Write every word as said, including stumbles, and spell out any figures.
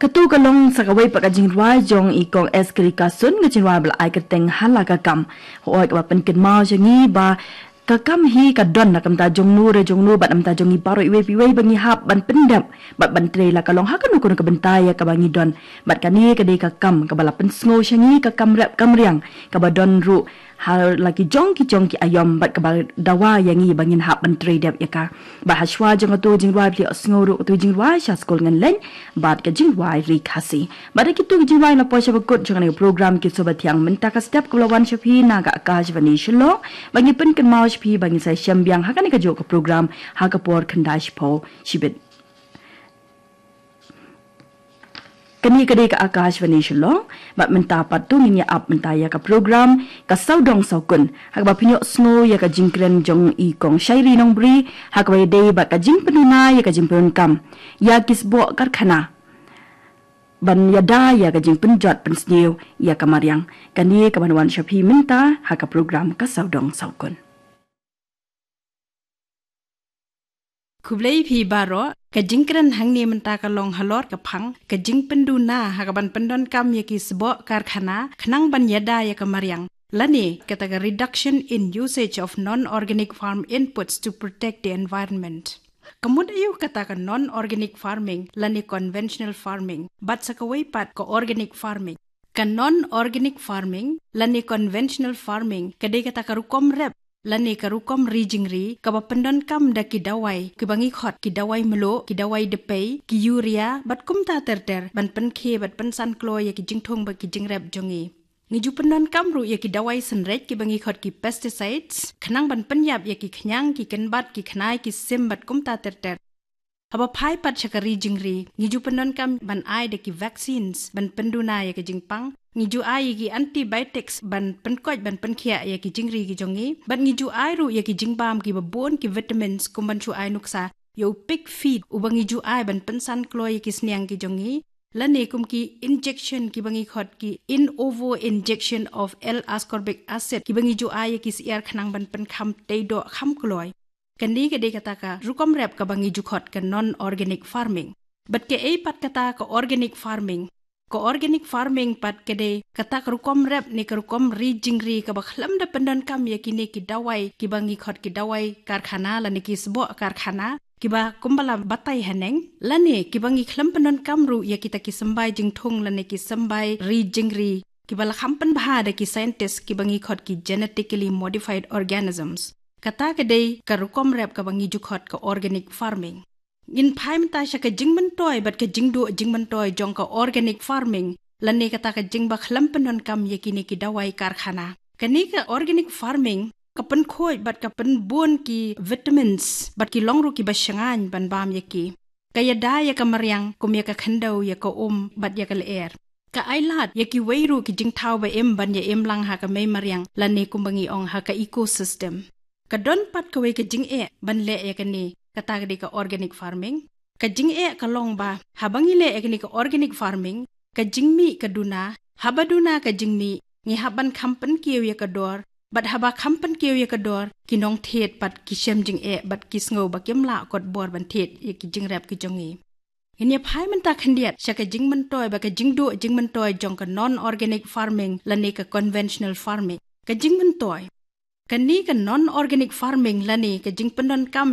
Katu ka long sa kawei pat ka jingrwai jong i Kong S Kyrikasun, ka jingrwai ba la ai kyrteng Hala ka kam. Hooid, kaba pynkynmaw sha ngi ba ka kam hi ka don na ka bynta jong no re jong no bad na ka bynta jong ngi baroh iwei pa iwei ba ngi hap ban pyndep bad ban trei la ka long ha kano kano ka bynta ïa kaba ngi don. Bad kane ka dei ka kam kaba la pynsngew sha ngi, ka kam rep kam riang kaba don ruh ha la ki jong ki jong ki aïom bad kaba dawa ïa ngi ba ngin hap ban trei dep ïa ka. Bad hashwa jong katu jingrwai, phi ïohsngew ruh katu jingrwai sha Skul Ngan Leit bad ka jingrwai Ri Khasi. Bad da kitu ki jingrwai la poi sha ba kut jong kane ka program Ki Sngewbha Thiang mynta ka step, kaba la wan sha phi na ka Akashvani Shillong. Ba ngi pynkynmaw sha phi ba ngin sa ïashem biang ha kane kajuh ka program ha ka por khyndai shiphew shibit. Kane ka dei ka Akashvani Shillong, bad mynta pat to ngin ïa ap mynta ïa ka program Ka Sawdong Sawkun, ha kaba phin ïohsngew ïa ka jingkren jong i Kong Shairi Nongbri ha kaba ïadei bad ka jingpynduna ïa ka jingpyndonkam ïa ki sboh karkhana ban ïada ïa ka jingpynjot pynsniew ïa ka mariang. Kane kaban wan sha phi mynta ha ka program Ka Sawdong Sawkun. Khublei phi baroh. Ka jingkren hangne mynta ka long halor ka phang ka jingpynduna ha kaban pyndonkam ïa ki sboh karkhana khnang ban ïada ïa ka mariang, lane kata ka reduction in usage of non-organic farm inputs to protect the environment. Ka mut aïu kata ka non-organic farming lane conventional farming, bad sa kawei pat ka organic farming? Ka non-organic farming lane conventional farming ka dei kata ka rukom rep lane ka rukom ri jingri kaba pyndonkam da ki dawai kiba ngi khot ki dawai mluh, ki dawai dpei, ki urea bad kumta ter ter ban pynkhie bad pynsan kloi ïa ki jingthung bad ki jingrep jong ngi. Ngi ju pyndonkam ruh ïa ki dawai synreit kiba ngi khot ki pesticides khnang ban pynïap ïa ki khñiang, ki kynbat, ki khnai, ki sim bad kumta ter ter. Haba phai pat sha ka ri jingri, ngi ju pyndonkam ban ai da ki vaccines ban pynduna ïa ka jingpang. Ngi ju ai ïa ki antibiotics ban pynkoit ban pynkhiah ïa ki jingri ki jong ngi. Bad ngi ju ai ruh ïa ki jingbam kiba bun ki vitamins, kum ban shu ai nuksa ïa u pig feed uba ngi ju ai ban pynsan kloi ïa ki sniang ki jong ngi, lane kum ki injection kiba ngi khot ki in ovo injection of L-ascorbic acid kiba ngi ju ai ïa ki syiar khnang ban pynkham tei doh kham kloi. Kane ka dei kata ka rukom rep kaba ngi ju khot ka non-organic farming. Bad kaei pat kata ka organic farming? Ka organic farming pat ka dei kata ka rukom rep ne ka rukom ri jingri kaba khlem da pyndonkam ïa kine ki dawai kiba ngi khot ki dawai karkhana lane ki sboh karkhana, kiba kumba la batai haneng, lane kiba ngi khlem pyndonkam ruh ïa kita ki symbai jingthung lane ki symbai ri jingri kiba la kham pynbha da ki scientist kiba ngi khot ki genetically modified organisms. Kata ka dei ka rukom rep kaba ngi ju khot ka organic farming. Ngin phai mynta sha ka jingmyntoi bad ka jingduh jingmyntoi jong ka organic farming, lane kata ka jingba khlem pyndonkam ïa kine ki dawai karkhana. Kane ka organic farming ka pynkhuid bad ka pynbun ki vitamins bad ki long ruh kiba shngaiñ ban bam ïa ki. Ka ïada ïa ka mariang kum ïa ka khyndew, ïa ka um bad ïa ka lyer. Ka ailad ïa kiwei ruh ki jingthaw ba im ban ïa im lang ha ka mei mariang lane kumba ngi ong ha ka ecosystem. Ka don pat kawei ka jingeh ban leh ïa kane, kata ka dei ka organic farming. Ka jingeh ka long ba haba ngi leh ïa kane ka organic farming, ka jingmih ka duna, haba duna ka jingmih, ngi hap ban kham pynkiew ïa ka dor, bad haba kham pynkiew ïa ka dor, ki nongthied pat ki shem jingeh bad ki sngew ba kim lah kot bor ban thied ïa ki jingrep ki jong ngi. Ngin ïa phai mynta khyndiat sha ka jingmyntoi bad ka jingduh jingmyntoi jong ka non-organic farming lane ka conventional farming. Ka jingmyntoi. Kane ka non-organic farming lane ka jingpyndonkam